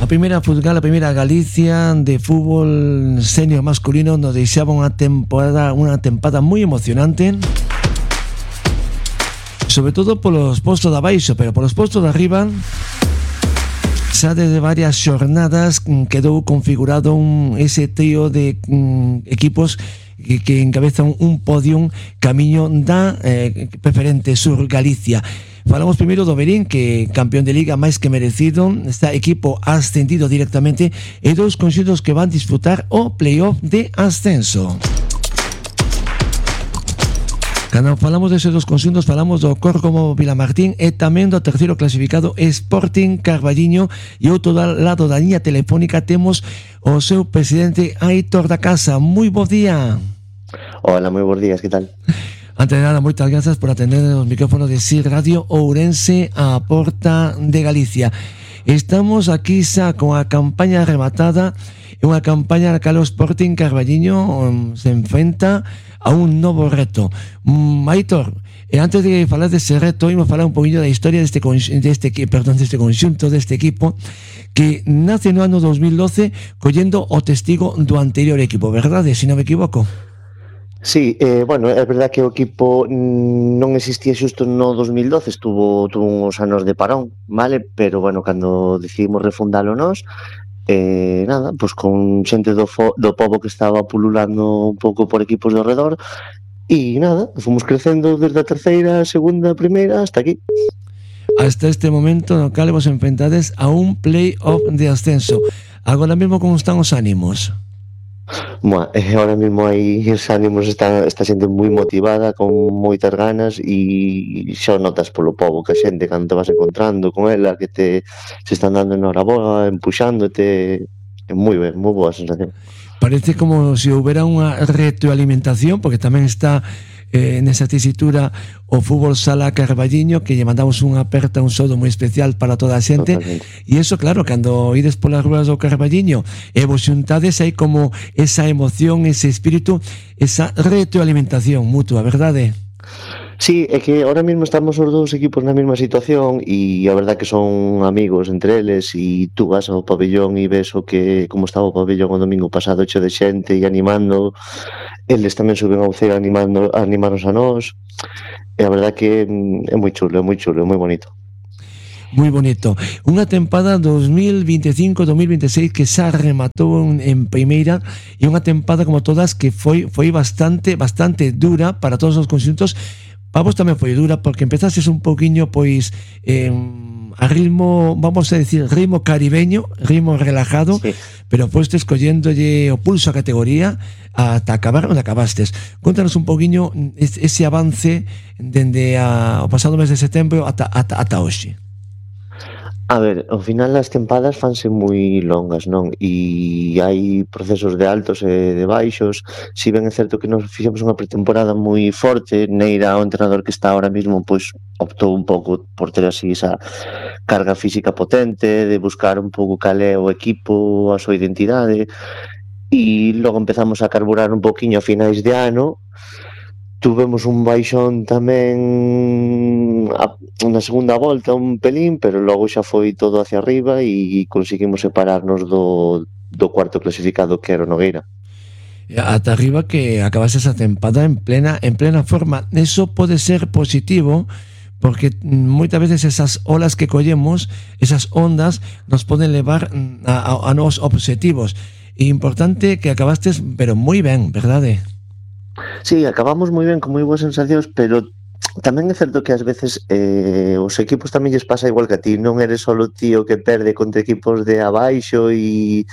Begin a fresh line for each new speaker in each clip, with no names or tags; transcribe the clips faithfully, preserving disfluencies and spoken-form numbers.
A primeira Fútbol, a primeira Galicia de fútbol senior masculino nos deixaba unha temporada, unha tempada moi emocionante, sobre todo polos postos de abaixo, pero polos postos de arriba xa desde varias xornadas quedou configurado un, ese trío de um, equipos que, que encabezan un podium camiño da eh, preferente Sur Galicia. Falamos primeiro do Verín, que campeón de liga máis que merecido, está equipo ascendido directamente, e dous conxuntos que van disputar o playoff de ascenso. Cando falamos deses dos conxuntos, falamos do Córcomo Vilamartín e tamén do terceiro clasificado Sporting Carballiño, e outro lado da liña telefónica temos o seu presidente Aitor da Casa. Moi bo día.
Hola, moi bons días, que tal?
Antes de nada, moitas grazas por atender os micrófonos de S I R Radio Ourense a porta de Galicia. Estamos aquí xa con a campaña rematada, e unha campaña na cal o Sporting Carballiño um, se enfrenta a un novo reto. Um, Aitor, e antes de falar deste reto, imos falar un poquinho da historia deste, deste, perdón, deste conxunto, deste equipo, que nace no ano dos mil doce collendo o testigo do anterior equipo, verdade, se non me equivoco?
Sí, eh, bueno, é verdad que o equipo non existía xusto no dos mil doce, estuvo, tuvo uns anos de parón, vale? Pero, bueno, cando decidimos refundalo nós, eh, nada, pois con xente do, fo, do pobo que estaba pululando un pouco por equipos do redor, e nada, fomos crecendo desde a terceira, segunda, primeira, hasta aquí.
Hasta este momento no cal vos enfrentades a un play-off de ascenso. Agora mesmo como están os ánimos?
Bueno, eh, ahora mismo aí os ánimos están, está xente moi motivada, con moitas ganas, e xa notas polo pobo que a xente cando te vas encontrando con ela, que te se están dando enhoraboa, empuxándote, é moi ben, moi boa sensación.
Parece como se houbera unha retroalimentación, porque tamén está eh, nesa tesitura o Fútbol Sala Carballiño, que lle mandamos unha aperta, un saúdo moi especial para toda a xente. E iso, claro, cando ides polas ruas do Carballiño e vos xuntades, hai como esa emoción, ese espírito, esa retroalimentación mutua, verdade?
Sí, é que ahora mesmo estamos os dous equipos na mesma situación, e a verdad que son amigos entre eles, e tú vas ao pabellón e ves o que como estaba o pabellón o domingo pasado, cheo de xente e animando, eles tamén suben ao ceo animando, a animarnos a nós, e a verdad que é moi chulo, é moi chulo, é moi bonito.
Moi bonito. Unha tempada dos mil veinticinco dos mil veintiséis que xa rematou en, en primeira, e unha tempada como todas que foi foi bastante bastante dura para todos os conxuntos. Para vos tamén foi dura porque empezases un poquinho pois eh, a ritmo, vamos a decir, ritmo caribeño, ritmo relajado, sí. Pero foste escolléndolle o pulso a categoría ata acabar onde acabastes. Contanos un poquinho ese avance dende a, o pasado mes de setembro ata, ata, ata hoxe.
A ver, ao final as tempadas fanse moi longas, non? E hai procesos de altos e de baixos. Si ben é certo que nos fixemos unha pretemporada moi forte, neira o entrenador que está ahora mismo, pois optou un pouco por ter así esa carga física potente, de buscar un pouco cal é o equipo, a súa identidade, e logo empezamos a carburar un poquinho a finais de ano. Tuvemos un baixón tamén a, na segunda volta, un pelín, pero logo xa foi todo hacia arriba e conseguimos separarnos do, do cuarto clasificado, que era o Nogueira.
Ata arriba, que acabase esa tempada en plena en plena forma. Eso pode ser positivo, porque moitas veces esas olas que collemos, esas ondas, nos poden levar a, a, a nos objetivos. E importante que acabastes, pero moi ben, verdade?
Sí, acabamos moi ben, con moi boas sensacións, pero tamén é certo que ás veces eh, os equipos tamén lles pasa igual que a ti, non eres só o tío que perde contra equipos de abaixo, e,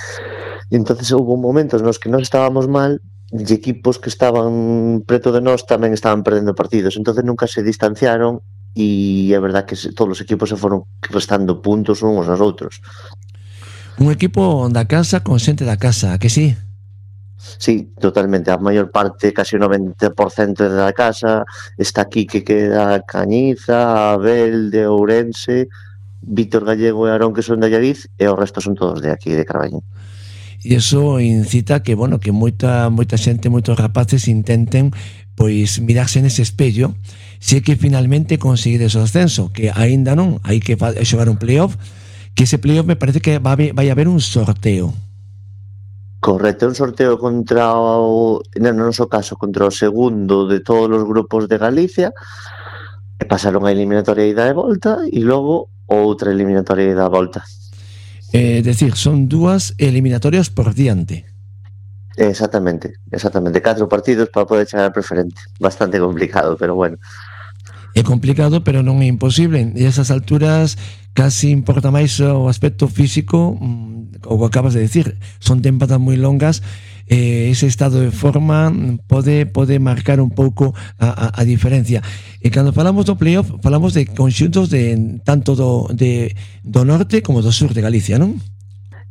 e entonces houve momentos nos que nós estábamos mal e equipos que estaban preto de nós tamén estaban perdendo partidos, entonces nunca se distanciaron, e é verdad que todos os equipos se foron restando puntos uns aos outros.
Un equipo da casa con xente da casa, que sí?
Sí, totalmente, a maior parte, casi o noventa por cento da casa está aquí, que queda Cañiza, Abel de Ourense, Víctor Gallego e Arón, que son de Allariz, e o resto son todos de aquí, de Carballiño.
E iso incita que, bueno, que moita moita xente, moitos rapaces intenten pois mirarse nese espello, se é que finalmente conseguides o ascenso, que aínda non, hai que xogar un playoff, que ese playoff me parece que va a haber, vai a haber un sorteo.
Correcto, un sorteo contra o, no noso caso, contra o segundo de todos os grupos de Galicia, e pasaron a eliminatoria ida e volta, e logo outra eliminatoria ida e volta.
É eh, decir, son dúas eliminatorias por diante.
Exactamente, exactamente, catro partidos para poder chegar al preferente. Bastante complicado, pero bueno.
É complicado, pero non é imposible. E esas alturas casi importa máis o aspecto físico, o que acabas de decir. Son tempadas moi longas, eh, ese estado de forma pode pode marcar un pouco a, a, a diferencia. E cando falamos do playoff, falamos de conxuntos de tanto do, de, do norte como do sur de Galicia, non?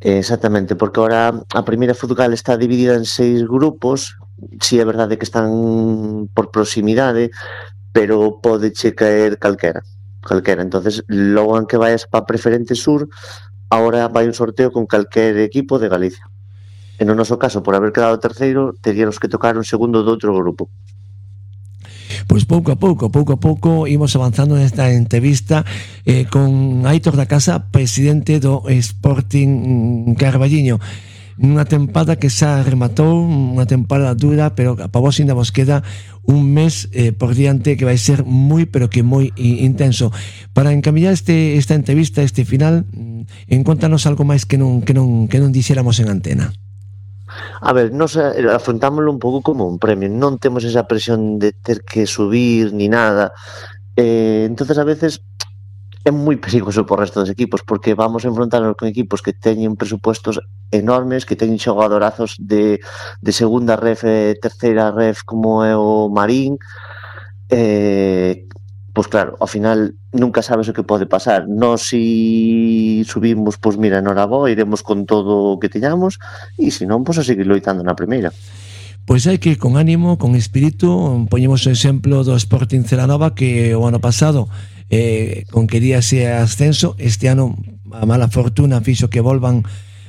Exactamente, porque ahora a primeira Futgal está dividida en seis grupos. Si é verdade que están por proximidade, pero pode che caer calquera, calquera. Entonces, logo en que vayas para Preferente Sur, ahora vai un sorteo con calquer equipo de Galicia. En o noso caso, por haber quedado terceiro, teríamos que tocar un segundo do outro grupo.
Pois pouco a pouco, pouco a pouco imos avanzando nesta entrevista eh, con Aitor da Casa, presidente do Sporting Carballiño. Unha tempada que xa rematou, unha tempada dura, pero para vos ainda vos queda un mes eh, por diante que vai ser moi, pero que moi intenso. Para encamiñar este, esta entrevista, este final, encontranos algo máis que non, que non, que non dixéramos en antena.
A ver, nos afrontámoslo un pouco como un premio, non temos esa presión de ter que subir ni nada, eh, entonces a veces é moi perigoso por resto dos equipos, porque vamos a enfrontarnos con equipos que teñen presupuestos enormes, que teñen xogadorazos de, de segunda ref e terceira ref como é o Marín, eh, pois claro, ao final nunca sabes o que pode pasar. Nós si subimos, pois mira, enhoraboa, iremos con todo o que teñamos, e se non, pois a seguir loitando na primeira.
Pois hai que ir con ánimo, con espírito. Poñemos o exemplo do Sporting Celanova, que o ano pasado eh, conquería ese ascenso. Este ano a mala fortuna fixo que volvan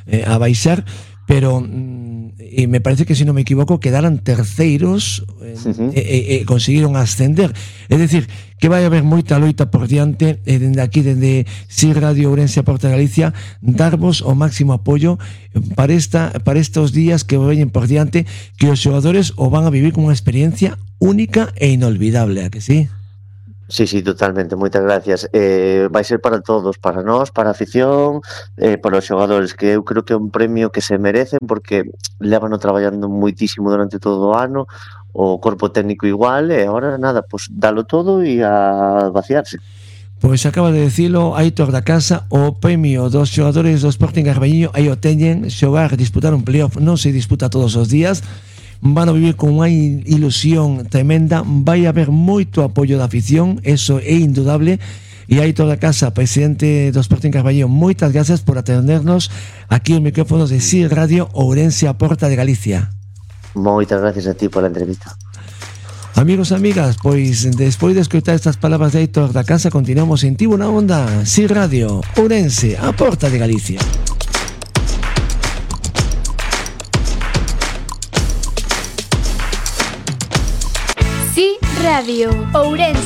eh, a baixar, pero e me parece que, se non me equivoco, quedaran terceiros eh, uh-huh. e, e, e conseguiron ascender. É dicir, que vai haber moita loita por diante, e dende aquí, dende Si Radio Ourense a Porta de Galicia, darvos o máximo apoio para esta para estos días que veñen por diante, que os xogadores o van a vivir como unha experiencia única e inolvidable, a que sí?
Sí, sí, totalmente, moitas gracias. Eh, vai ser para todos, para nós, para a afición, eh, para os xogadores, que eu creo que é un premio que se merecen, porque lévano traballando moitísimo durante todo o ano, o corpo técnico igual, e agora nada, pues dalo todo e a vaciarse.
Pois acaba de decilo Aitor da Casa, o premio dos xogadores do Sporting Carballiño, aí o teñen. Xogar, disputar un playoff non se disputa todos os días, van a vivir con unha ilusión tremenda, vai haber moito apoio da afición, eso é indudable. E Aitor da Casa, presidente do Sporting Carballiño, moitas gracias por atendernos aquí os micrófonos de Si Radio Ourense a Porta de Galicia.
Moitas gracias a ti pola entrevista.
Amigos e amigas, pois despois de escoitar estas palabras de Aitor da Casa, continuamos en Tibo na Onda, Si Radio Ourense a Porta de Galicia.
Si Radio Ourense.